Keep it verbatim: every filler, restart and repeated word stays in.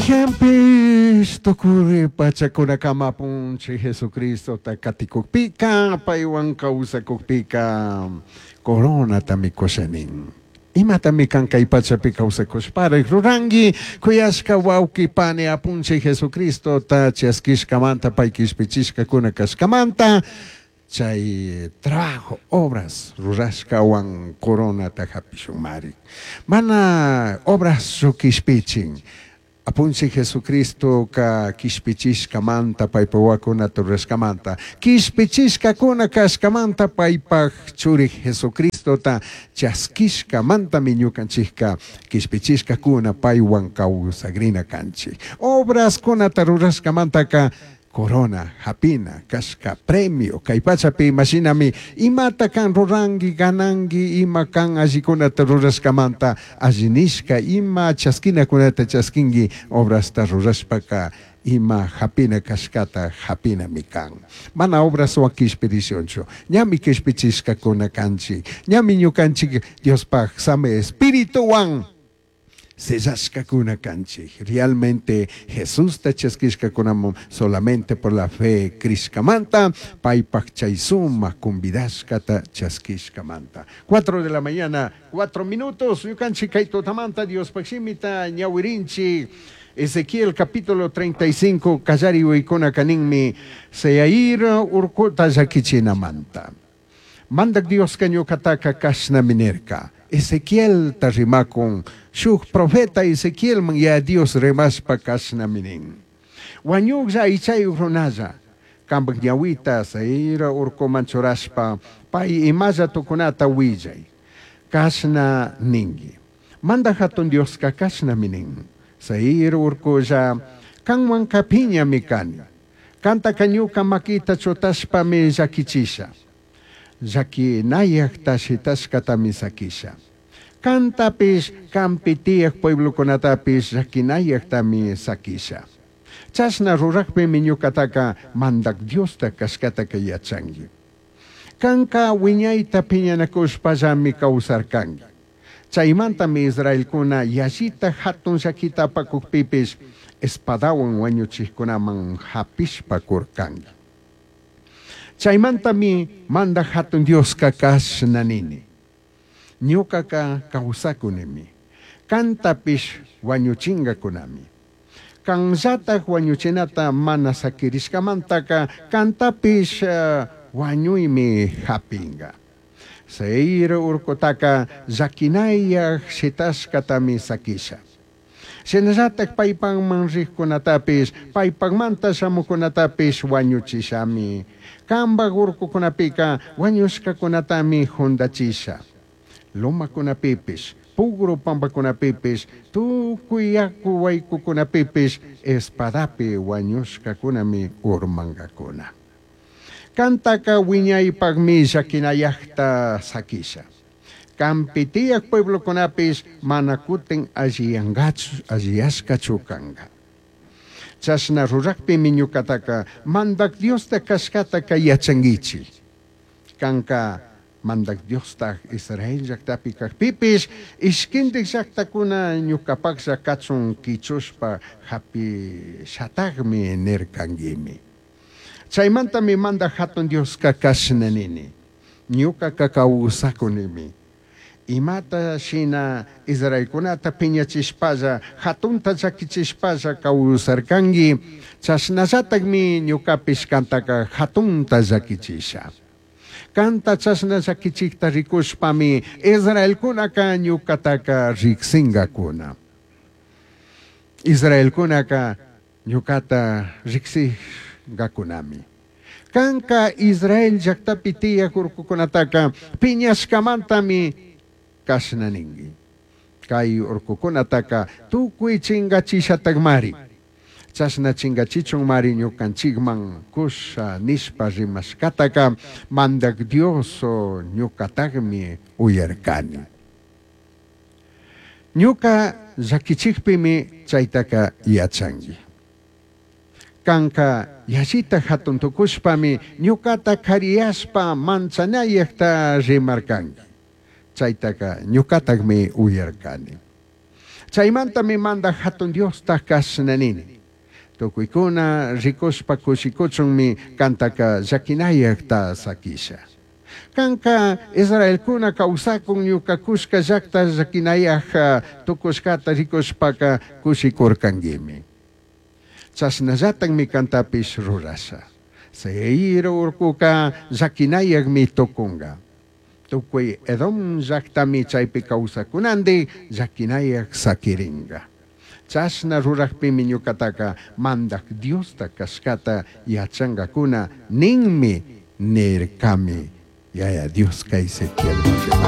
Maijanpish tucuri pachakunakama apunchik Jesucristota katikukpika, paywan kawsakukpika coronatami kusha nin. Imatami kan kay pachapi kawsakushparik ruranki, kuyashka wawqi pani apunchik Jesucristota chaskishkamanta pay kishpichishkakuna kashkamanta, chay trabajo, obras rurashkawan coronata hapishunmari. Mana obraschu kishpichin. Apunchik Jesucristoka kishpichishkamanta paypak wawakunata rurashkamanta, kishpichishkakuna kashkamanta paypak churi Jesucristota chaskishkamantami ñukanchikka kishpichishkakuna paywan kawsagrina kanchik. Obraskunata rurashkamantaka corona hapina kashka premio kay pachapi imashinami imata kan ruranki gananki ima kan allikunata rurashkamanta alli nishka ima chaskinakunata chaskinki obrasta rurashpaka ima hapina kashkata hapinami kan. Mana obraswan kishpirishunchu, ñami kishpichishkakuna kanchik, ñami ñukanchik Diospaj sami espirituwan sellashkakuna kanchik. Realmente Jesusta chaskishkakunaman solamente por la fe crishkamanta, paypak chay sumak convidashkata chaskishkamanta. Cuatro de la mañana, cuatro minutos, ñukanchik kay tutamanta Diospaj shimita ñawirinchik. Ezequiel capítulo treinta y cinco, kallari uykuna kaninmi, Seir urkuta llakichinamanta. Mandak Dioska ñukataka kashnami nirka. Ezequiel ta rimakun, shuk profeta Ezequielman ya Dios rimashpa kashnami nin. Wañuklla aychayuk runalla, kampak ñawita Seir urkuman churashpa, pay imalla tukunata willay. Kashna ninki. Mandak hatun Dioska kashnami nin. Seir urkulla, kanwanka piñami kani. Kantaka ñuka makita chutashpami llakichisha. Llakinayakta shitashkatami sakisha. Kantapish kampi tiyak pueblokunatapish llakinayaktami sakisha. Chashna rurakpimi ñukataka mandak Diosta kashkataka yachanki. Kanka wiñayta piñanakushpallami kawsarkanki. Chaymantami Israelkuna yallita hatun llakita apakukpipish espadawan wañuchikkunaman hapishpa kurkanki. Chaymantami mandak hatun Dioska kashna nini. Ñukaka kawsakunimi. Kantapish wañuchingakunami. Kanllatak wañuchinata mana sakirishkamantaka kantapish, eh, wañuymi hapinga. Seir urkutaka llakinayak shitashkatami sakisha. Shinallatak paypakman rikkunatapish, paypakmanta shamukunatapish wañuchishami. Kampak urkukunapika wañushkakunatami jundachisha. Lomakunapipish, pugru pampakunapipish, tukuy yaku waykukunapipish espadapi wañushkakunami urmankakuna. Kantaka wiñaypakmi llakinayakta sakisha. Kampi tiyak pueblokunapish mana kutin alliyankachu, alliyashkachu kanka. Chashna rurakpimi ñukataka mandak Diosta kashkataka yachankichik. Kanka mandak Diosta Israel llaktapi kakpipish, ishkindik llaktakuna ñukapaklla kachun kichushpa hapishatakmi nirkankimi. Chaymantami mandak hatun Dioska kashna nini. Ñukaka kawsakunimi. Imata shina Israelkunata piñachishpalla, hatunta llakichishpalla kawsarkanki, chashnallatakmi ñukapish kantaka hatunta llakichisha. Kanta chashna llakichikta rikushpami Israelkunaka ñukataka riksinkakuna. Israelkunaka ñukata riksigakunami. Kanka Israel llaktapi tiyak urkukunataka piñashkamantami kashna ninki. Kay urkukunataka tukuy chingachishatakmari. Chashna chingachichunmari ñukanchikman kusha nishpa rimashkataka mandak Dios ñukatakmi uyarkani. Ñuka llakichikpimi chaytaka yachanki. Kanka yallita hatun tukushpami ñukata kariyashpa manchanayakta rimarkanki. Chaytaka ñukatakmi uyarkani. Chaimantami Mandaj Jatun Diosta cashna nini. Tucuicuna ricushpa cushicuchunmi cantaca llaquinayajta saquisha. Canca israelcuna causacun ñuca cushca llajta llaquinayaj tucushcata ricushpaca cushicurcanguimi. Chashnallatajmi cantapish rurasha. Seir urcuca llaquinayajmi tucunga. Tucui Edom llajtami chaipi causajcunandij llaquinayaj saquiringa. Chashna rurajpimi ñucataca Mandaj Diosta cashcata yachangacuna ninmi nircami Yaya Diosca Ezequielman.